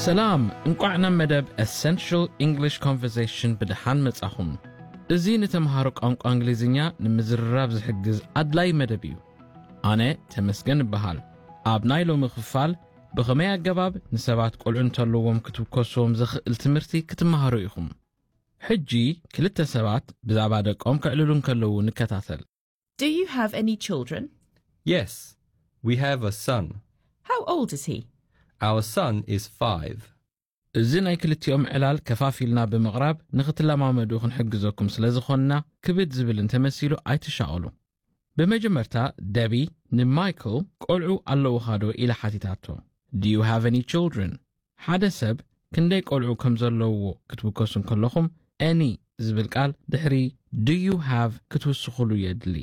ሰላም፣ እንቋዕ ናብ መደብ Essential English Conversation ብደሓን መጻኹም። እዚ ንተምሃሮ ቋንቋ እንግሊዝኛ ንምዝርራብ ዝሕግዝ ኣድላይ መደብ እዩ። ኣነ ተመስገን እበሃል። ኣብ ናይ ሎሚ ክፋል ብኸመይ ኣገባብ ንሰባት ቆልዑ እንተለዎም ክትውከስዎም ዘኽእል ትምህርቲ ክትመሃሩ ኢኹም። ሕጂ ክልተ ሰባት ብዛዕባ ደቆም ከዕልሉ እንከለዉ ንከታተል። Do you have any children? Yes, we have a son. How old is he? Our son is five. እዚ ናይ ክልቲኦም ዕላል ከፋፊልና ብምቕራብ ንኽትለማመዱ ክንሕግዘኩም ስለ ዝኾንና ክብድ ዝብል እንተመሲሉ ኣይትሻቐሉ። ብመጀመርታ ደቢ ንማይክል ቆልዑ ኣለውኻ ዶ ኢላ ሓቲታቶ። Do you have any children? ሓደ ሰብ ክንደይ ቆልዑ ከም ዘለውዎ ክትውከሱ እንከለኹም any ዝብል ቃል ድሕሪ do you have ክትውስኹሉ የድሊ።